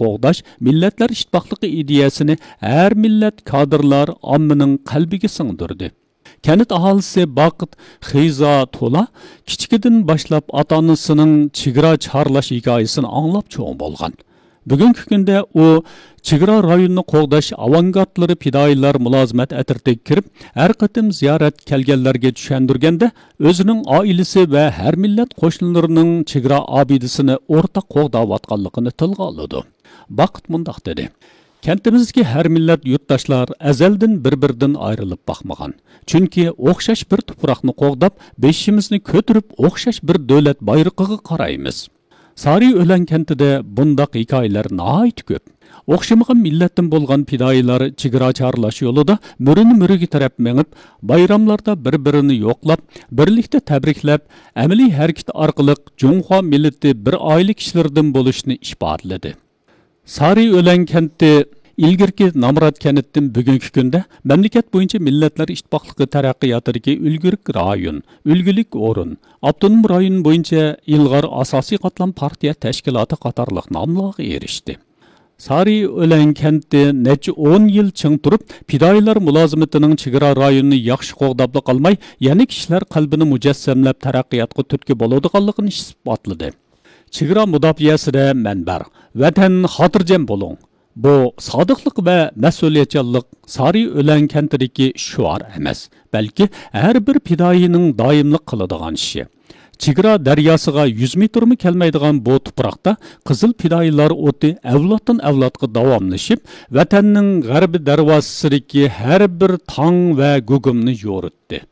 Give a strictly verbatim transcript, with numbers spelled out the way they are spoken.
قوغداش، مىللەتلەر ئىتتىپاقلىقى ئىدىيەسىنى ھەر مىللەت كادىرلار ئاممىنىڭ قەلبىگە سىڭدۈردى. كەنت ئاھالىسى باقىت خىزا تولا كىچىكىدىن باشلاپ ئاتا-ئانىسىنىڭ چېگرا چارلاش ھېكايىسىنى ئاڭلاپ چوڭ بولغان. بۈگۈنكى كۈندە ئۇ چېگرا رايونىنى قوغداش ئاۋانگارتلىرى پىدائىيلار مۇلازىمەت ئەترىتىگە كىرىپ، ھەر قېتىم زىيارەتكە كەلگەنلەرگە چۈشەندۈرگەندە، ئۆزىنىڭ ئائىلىسى ۋە ھەر مىللەت قوشنىلىرىنىڭ چېگرا ئابىدىسىنى ئورتاق قوغداۋاتقانلىقىنى تىلغا ئالىدۇ. باقىت مۇنداق دېدى: كەنتىمىزدىكى ھەر مىللەت يۇرتداشلار ئەزەلدىن بىر-بىرىدىن ئايرىلىپ باقمىغان. چۈنكى ئوخشاش بىر تۇپراقنى قوغداپ، بېشىمىزنى كۆتۈرۈپ، ئوخشاش بىر دۆلەت بايرىقىغا قارايمىز. سارى ئۆلەن كەنتىدە بۇنداق ھېكايىلەر ناھايىتى كۆپ. ئوخشىمىغان مىللەتتىن بولغان پىدائىيلار چېگرا چارلاش يولىدا مۈرىنى مۈرىگە تىرەپ مېڭىپ، بايراملاردا بىر-بىرىنى يوقلاپ، بىرلىكتە تەبرىكلەپ، ئەمەلىي ھەرىكىتى ئارقىلىق جۇڭخۇا مىللىتى بىر ئائىلە كىشىلىرىدىن بولۇشىنى ئىپادىلىدى. سارى ئۆلەن كەنتى ئىلگىرىكى نامرات كەنتتىن بۈگۈنكى كۈندە مەملىكەت بويىچە مىللەتلەر ئىتتىپاقلىقى تەرەققىياتىدىكى ئۈلگىلىك رايون، ئۈلگىلىك ئورۇن، ئاپتونوم رايون بويىچە ئىلغار ئاساسىي قاتلام پارتىيە تەشكىلاتى قاتارلىق ناملارغا ئېرىشتى. سارى ئۆلەن كەنتى نەچچە ئون يىل چىڭ تۇرۇپ، پىدائىيلار مۇلازىمىتىنىڭ چېگرا رايونىنى ياخشى قوغداپلا قالماي، يەنە كىشىلەر قەلبىنى مۇجەسسەملەپ تەرەققىياتقا تۈرتكە بولىدىغانلىقىنى ئىسپاتلىدى. چېگرا مۇداپىئەسىدە مەن بار، ۋەتەن خاتىرجەم بولۇڭ. بۇ سادىقلىق ۋە مەسئۇلىيەتچانلىق سارى ئۆلەن كەنتىدىكى شوئار ئەمەس، بەلكى ھەر بىر پىدائىينىڭ دائىملىق قىلىدىغان ئىشى. چېگرا دەرياسىغا يۈز مېتىرمۇ كەلمەيدىغان بۇ تۇپراقتا قىزىل پىدائىيلار ئوتى ئەۋلادتىن ئەۋلادقا داۋاملىشىپ، ۋەتەننىڭ غەربىي دەرۋازىسىدىكى ھەر بىر تاڭ ۋە گۇگۇمنى يورۇتتى.